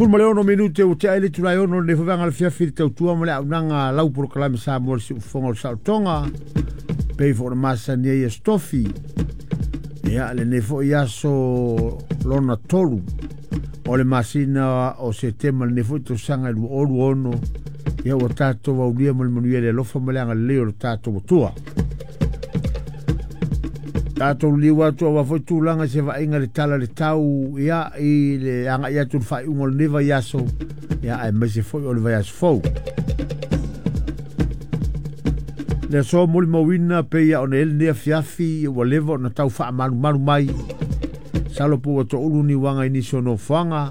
16 minute ua tea ai le itula e 6 o lenei foi vaega o le afiafi i le tautua ma le auaunaga a lau polokalame Samoa le Siufofoga o le Saolotoga pei foi ona masani ai Aso Tofi. Ia, lenei foi aso lona tolu o le masina o Setema lenei foi tausaga e 2026, ia ua tatou aulia ma le manuia i le alofa ma le agalelei o le tatou Atua. Tatou liu atu aua foi tulaga i se vaaiga i le tala i le tau ia i le agai atu i le faaiuga o lenei vaiaso ia aemaise foi o le vaiaso fou. Le aso molimauina pei ona i ai lenei afiafi ua leva ona tau faamalumalu mai. Masalo po ua toulu ni uaga i nisi o nofoaga.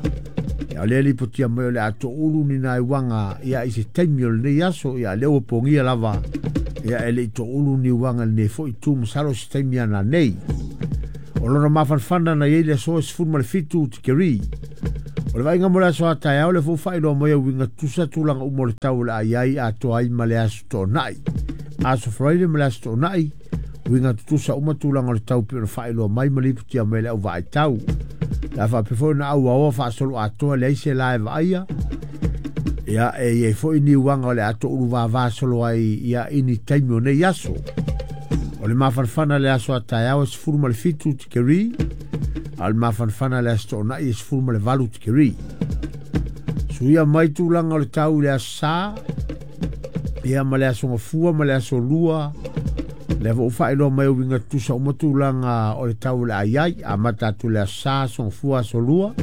Ia o lea lipotia mai o le a toulu ni nai uaga ia i se taimi o lenei aso. Ia lea ua pogia lava ia e le i toulu ni uaga i lenei foi itu masalo o se taimi a nanei. O lona mafanafana na i ai le aso e 17 tikeri. O le vaaiga mo le aso a taeao lea foi ua faailoa mai e uiga tutusa tulaga uma o le tau o le a i ai atoa ai ma le aso Toonai. Aso Faraile ma le aso Toonai, uiga tutusa uma tulaga o le tau pei ona faailoa mai ma lipotia mai e le au vaai tau. Le a faapea foi ona auaoa faasoloatoa leai se la e vaaia. Ia, e i ai foi ni uaga o le a toulu vava solo ai ia i ni taimi o nei aso. O le mafanafana le aso a taeao e 17 tikeri, a o le mafanafana le aso Toonai e 18 tikeri. Suia mai tulaga o le tau i le aso Sa, ia ma le aso Gafua ma le aso Lua, lea foi ua faailoa mai e uiga tutusa uma tulaga o le tau o le a i ai. Amata atu i le aso Sa, aso Gafua, aso Lua,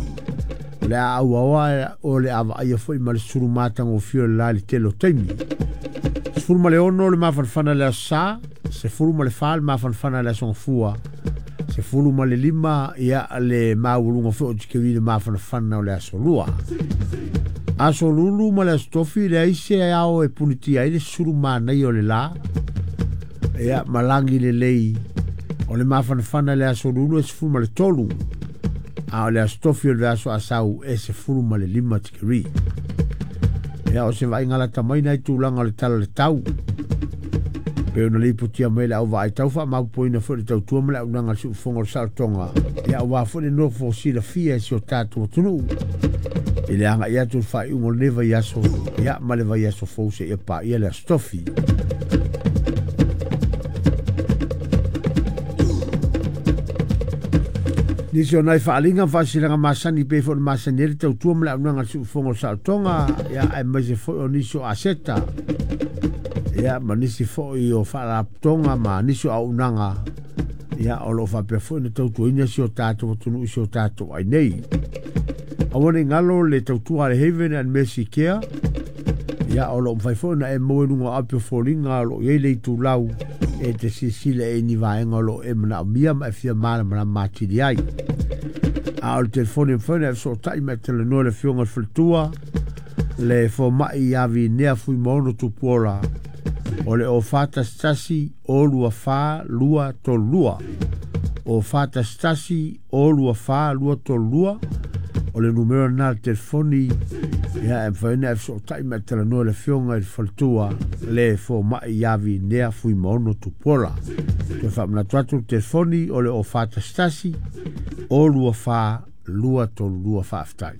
o le a auaoa o le a vaaia foi ma le sulu matagofie o le la i le tele o taimi. 16 le mafanafana i le aso Sa, 14 le mafanafana i le aso Gafua, 15 ia le maualuga foi o tikeri i le mafanafana o le aso Lua. Aso Lulu ma le aso Tofi, leai se ao e punitia ai le sulu manaia o le la, ia ma lagi lelei. O le mafanafana i le aso Lulu e 13, a o le aso Tofi o le aso Asau e 15 tikeri. Ia o se vaaiga lata mai nai tulaga o le tala o le tau. Pei ona lipotia mai le au vaai tau faamaopoopoina foi le tautua ma le auaunaga a le siufofoga o le saolotoga. Ia aua foi le nofo silafia e si o tatou atunuu i le agai atu i le faaiuga o lenei vaiaso ia ma le vaiaso fou seia paia le aso Tofi. Nisi o nai faaaliga ma faasilaga masani pei foi ona masani ai le tautua ma le auaunaga a le siufofoga o le saolotoga, ia aemaise foi o nisi o aseta, ia ma nisi foi o faalapotopotoga ma nisi o auaunaga, ia o lo o faapea foi ona tautuaina si o tatou atunuu i si o tatou ai nei. Aua ne i galo le tautua a le Haven and Mercy Care, ia o lo o mafai foi ona e maua i luga o api o foliga o lo o i ai le itulau e te silasila i ni vaega o lo o e manaomia ma e fia malamalama atili ai. A o le telefoni e mafai ona e fesootai ma e talanoa i le Afioga i le Faletua, le fomai ia Vinea Fuimaono Tupuola, o le 0411 024 232. 0411 024 232 o le numera lena o le telefoni ia e mafai ona e fesootai ma e talanoa i le Afioga i le Faletua, le fomai ia Vinea Fuimaono Tupuola. Toe faamanatu atu le telefoni o le 0411 024 232. Faafetai.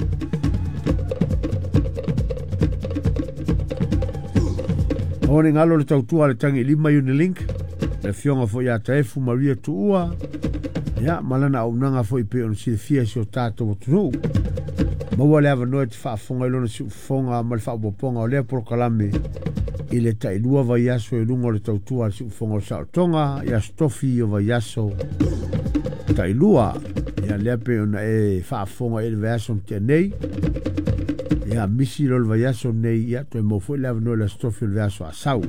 Aua ne i galo le tautua a le Tagi Lima Unilink, le afioga foi ia Taefu Maria Tuua, ia ma lana auaunaga foi pei ona silafia e si o tatou atunuu. Maua le avanoa e te faafofoga i lona siufofoga ma le faaopoopoga o lea polokalame i le tailua vaiaso i luga o le tautua a le siufofoga o le saolotoga i Aso Tofi o vaiaso tailua. Ia lea pei ona e faafofoga i le vaiaso na tea nei. Ia misi loa le vaiaso nei, ia toe maua foi le avanoa i le Aso Tofi o le vaiaso a sau.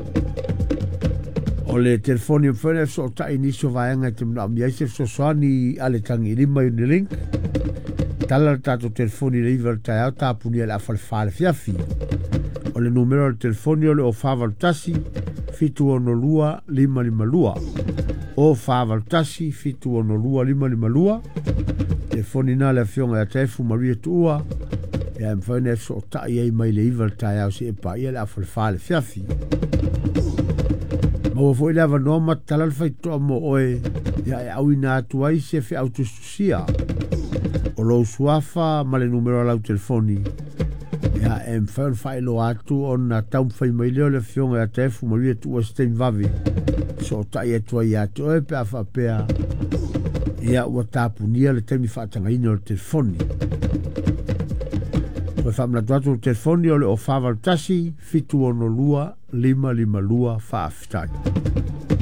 O le telefoni e mafai ona e fesootai i nisi o vaega e te manaomia ai se fesoasoani a le Tagilima Unilink. Tala le tatou telefoni i le 9 o le taeao, tapunia i le afa le 4 le afiafi. O le numera o le telefoni o le 0481 762 552. 0481 762 552. Telefoni na le afioga ia Taefu Maria Tuua, ia e mafai ona e fesootai ai mai le 9 le taeao seia paia le afa le 4 le afiafi. Maua foi le avanoa ma tatala le faitotoa mo oe, ia e auina atu ai se feau tusitusia. O lou suafa ma le numera o lau telefoni, ia e mafai ona faailoa atu ona taumafai mai lea o le afioga ia Taefu Manuia Tuua se taimi vave sootai atu ai ia te oe pe a faapea ia ua tapunia le taimi faatagaina o le telefoni. Toe faamanatu atu le telefoni o le 041 762 552. Faafetai.